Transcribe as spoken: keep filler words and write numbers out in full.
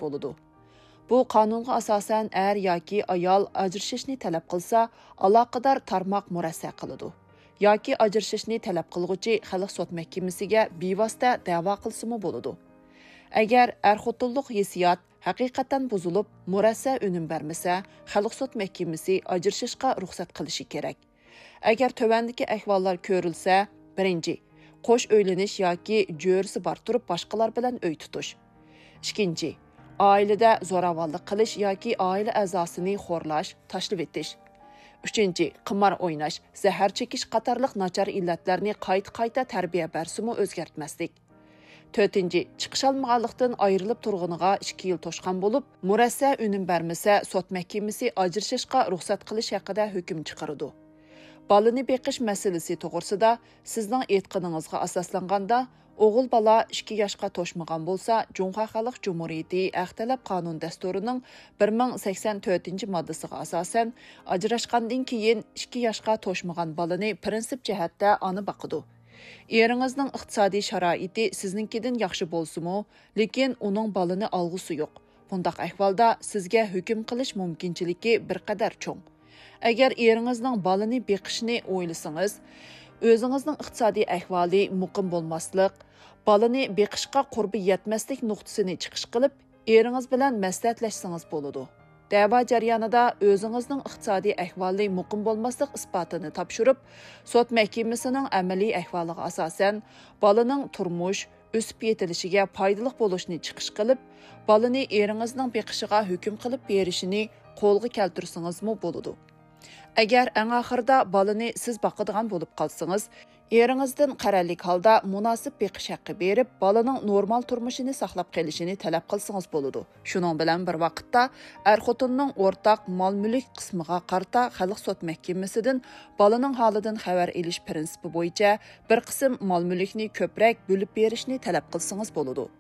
بولىدۇ. بۇ قانۇنغا ئاساسەن ئەر ياكى ئايال ئاجرىشىشنى تەلەپ قىلسا، ئالاقىدار تارماق مۇرەسسە قىلىدۇ. ياكى ئاجرىشىشنى تەلەپ قىلغۇچى خەلق سوت مەھكىمىسىگە بىۋاسىتە دەۋا قىلسىمۇ بولىدۇ. ئەگەر ئەر-خوتۇنلۇق ھېسسىيات ھەقىقەتەن بۇزۇلۇپ، مۇرەسسە ئۈنۈم بەرمىسە، خەلق سوت مەھكىمىسى ئاجرىشىشقا رۇخسەت قىلىشى كېرەك. ئەگەر تۆۋەندىكى ئەھۋاللار كۆرۈلسە، بىرىنچى، قوش ئۆيلىنىش ياكى جۆرىسى بار تۇرۇپ باشقىلار بىلەن ئۆي تۇتۇش. ئىككىنچى، ئائىلىدە زوراۋانلىق قىلىش ياكى ئائىلە ئەزاسىنى خورلاش، تاشلىۋېتىش. ئۈچىنچى، قىمار ئويناش، زەھەر چېكىش قاتارلىق ناچار ئىللەتلەرنى قايتا-قايتا تەربىيە بەرسىمۇ ئۆزگەرتمەسلىك. تۆتىنچى، چىقىشالمىغانلىقتىن ئايرىلىپ تۇرغىنىغا ئىككى يىل توشقان بولۇپ، مۇرەسسە ئۈنۈم بەرمىسە، سوت مەھكىمىسى ئاجرىشىشقا رۇخسەت قىلىش ھەققىدە ھۆكۈم چىقىرىدۇ. بالىنى بېقىش مەسىلىسى توغرىسىدا سىزنىڭ ئېيتقىنىڭىزغا ئاساسلانغاندا، ئوغۇل بالا ئىككى ياشقا توشمىغان بولسا، جۇڭخۇا خەلق جۇمھۇرىيىتى ھەق تەلەپ قانۇن دەستۇرىنىڭ بىر مىڭ سەكسەن تۆتىنچى ماددىسىغا ئاساسەن، ئاجراشقاندىن كېيىن ئىككى ياشقا توشمىغان بالىنى پىرىنسىپ جەھەتتە ئانا باقىدۇ. ئېرىڭىزنىڭ ئىقتىسادىي شارائىتى سىزنىڭكىدىن ياخشى بولسىمۇ، لېكىن ئۇنىڭ بالىنى ئالغۇسى يوق. بۇنداق ئەھۋالدا سىزگە ھۆكۈم قىلىش مۇمكىنچىلىكى بىر قەدەر چوڭ. ئەگەر ئېرىڭىزنىڭ بالىنى بېقىشنى ئويلىسىڭىز، ئۆزىڭىزنىڭ ئىقتىسادىي ئەھۋالى مۇقىم بولماسلىق، بالىنى بېقىشقا قۇربى يەتمەسلىك نۇقتىسىنى چىقىش قىلىپ، ئېرىڭىز بىلەن مەسلىھەتلەشسىڭىز بولىدۇ. دەۋا جەريانىدا ئۆزىڭىزنىڭ ئىقتىسادىي ئەھۋالى مۇقىم بولماسلىق ئىسپاتىنى تاپشۇرۇپ، سوت مەھكىمىسىنىڭ ئەمەلىي ئەھۋالىغا ئاساسەن، بالىنىڭ تۇرمۇش، ئۆسۈپ يېتىلىشىگە پايدىلىق بولۇشنى چىقىش قىلىپ، بالىنى ئېرىڭىزنىڭ بېقىشىغا ھۆكۈم قىلىپ بېرىشىنى قولغا كەلتۈرسىڭىزمۇ بولىدۇ. ئەگەر ئەڭ ئاخىرىدا بالىنى سىز باقىدىغان بولۇپ قالسىڭىز، ئېرىڭىزدىن قەرەللىك ھالدا مۇناسىپ بېقىش ھەققى بېرىپ، بالىنىڭ نورمال تۇرمۇشىنى ساقلاپ قېلىشىنى تەلەپ قىلسىڭىز بولىدۇ. شۇنىڭ بىلەن بىر ۋاقىتتا، ئەر-خوتۇننىڭ ئورتاق مال-مۈلۈك قىسمىغا قارىتا خەلق سوت مەھكىمىسىدىن بالىنىڭ ھالىدىن خەۋەر ئېلىش پىرىنسىپى بويىچە بىر قىسىم مال-مۈلۈكنى كۆپرەك بۆلۈپ بېرىشنى تەلەپ قىلسىڭىز بولىدۇ.